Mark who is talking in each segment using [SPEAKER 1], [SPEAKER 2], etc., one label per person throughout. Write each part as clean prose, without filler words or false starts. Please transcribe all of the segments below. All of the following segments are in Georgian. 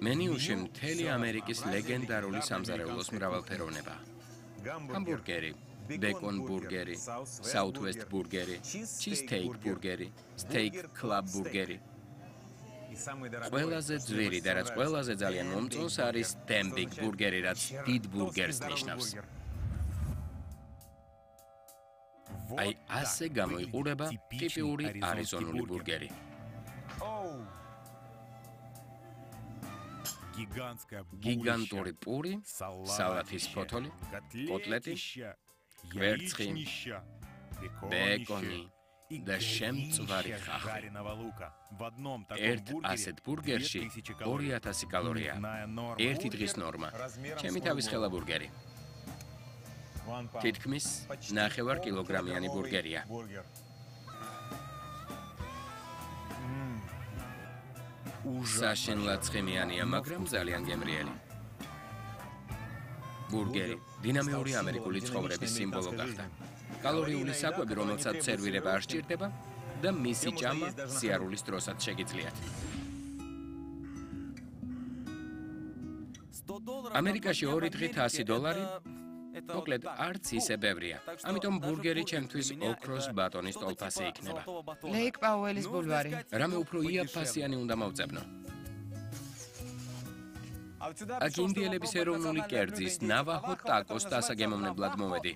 [SPEAKER 1] მენიუში მთელი ამერიკის ლეგენდარული სამზარეულოს მრავალფეროვნება. ჰამბურგერი, ბეკონ ბურგერი, საუთვესტ ბურგერი, ჩიზტეიქ ბურგერი, სტეიქ კლაბ ბურგერი. ყველაზე ძვირი და რაც ყველაზე ძალიან მომწონს არის დემბიგ ბურგერი, რაც დიდ ბურგერს ნიშნავს. აი ასე გამოიყურება ტიპიური არიზონული ბურგერი. გიგანტური პური, სალათის ფოთოლი, კოტლეტი, კვერცხი, ბეკონი და შემწვარი ხახვი. ერთ ასეთ ბურგერში 2000 კალორია. ერთი დღის ნორმა. ჩემი თავის ხელა ბურგერი. თითქმის 9 კილოგრამიანი ბურგერია. საშინლად ცხიმიანია, მაგრამ ძალიან გემრიელი. ბურგერი დინამიური ამერიკული ცხოვრების სიმბოლო გახდა. კალორიული საკვები, რომელსაც სერვირება არ სჭირდება და მისი ჭამა სიარულის დროსაც შეგიძლიათ. ამერიკაში 2 დღით $100 მოკლედ არც ისე ბევრია. ამიტომ ბურგერი ჩემთვის ოქროს ბატონის ტოლფასი იქნება.
[SPEAKER 2] ლეიკ პაუელის ბულვარი.
[SPEAKER 1] რამე უფრო იაფფასიანი უნდა მოვწებნო. აქ ინდიელების ეროვნული კერძის ნავაჰო ტაკოს დასაგემოვნებლად მოვედი.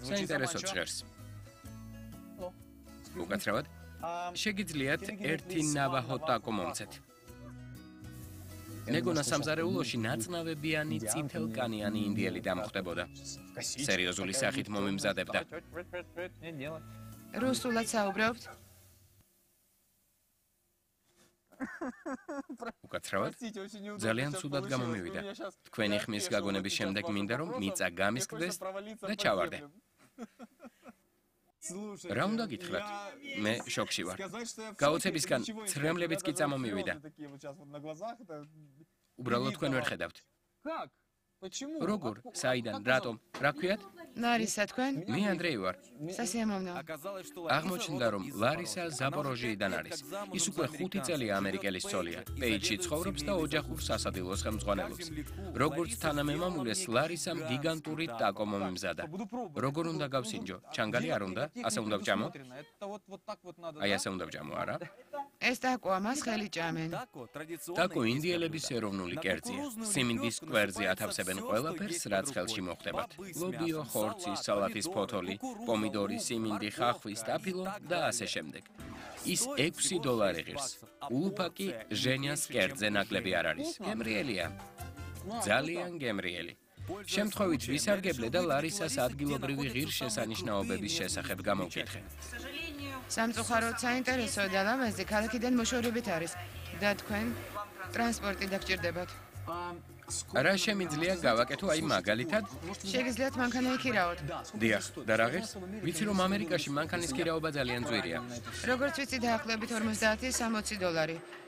[SPEAKER 1] საინტერესოდ ჟღერს. უკაცრავად, შეგიძლიათ ერთი ნავაჰო ტაკო მომცეთ. მეგონა სამზარეულოში ნაწნავებიანი წითელკანიანი ინდიელი დამხვდებოდა. სერიოზული სახით მომიმზადებდა.
[SPEAKER 2] რუსულად საუბრობთ?
[SPEAKER 1] უკაცრავად, ძალიან ცუდად გამომივიდა. თქვენი ხმის გაგონების შემდეგ მინდა რომ მიწა გამისკდეს და ჩავარდე. რა უნდა გითხრათ? მე შოკში ვარ. გაოცებისგან ცრემლებიც კი წამომივიდა. უბრალოდ თქვენ ვერ ხედავთ. როგორ? საიდან? რატომ? რა ქვიათ?
[SPEAKER 2] ლარისა თქვენ?
[SPEAKER 1] მე ანდრეი ვარ.
[SPEAKER 2] სასიამოვნო.
[SPEAKER 1] აღმოჩნდა რომ ლარისა ზაპოროჟიიდან არის. ის უკვე 5 წელია ამერიკელის ცოლია. პეიჯში ცხოვრობს და ოჯახურ სასადილოს ხელმძღვანელობს. როგორც თანამემამულეს ლარისამ გიგანტური ტაკო მომიმზადა. როგორ უნდა გავსინჯო? ჩანგალი არ უნდა? ასე უნდა ვჭამო? აი ასე უნდა ვჭამო, არა?
[SPEAKER 2] ეს ტაკოა, მას ხელი ჭამენ.
[SPEAKER 1] ტაკო ინდიელების ეროვნული კერძია. სიმინდის კვერზე ათავსებენ ყველაფერს, რაც ხელში მოხდებათ. ლობიო, ხორცი, სალათის ფოთოლი, პომიდორი, სიმინდი, ხახვი, სტაფილო და ასე შემდეგ. ის $6 ღირს. ულუფაკი ჟენიას კერძზე ნაკლები არ არის. გემრიელია. ძალიან გემრიელი. შემთხვევით ვისარგებლე და ლარისას ადგილობრივი ღირსშესანიშნაობების შესახებ გამოვკითხე.
[SPEAKER 2] სამწუხაროდ საინტერესო და ლამაზი ქალაქიდან მოშორებით არის და თქვენ ტრანსპორტი დაგჭირდებათ.
[SPEAKER 1] რა შემიძლია გავაკეთო აი მაგალითად?
[SPEAKER 2] შეგიძლიათ მანქანა იქირაოთ.
[SPEAKER 1] დიახ, და რა ღირს? ვიცი რომ ამერიკაში მანქანის ქირაობა ძალიან ძვირია.
[SPEAKER 2] როგორც ვიცი დაახლოებით $50-60.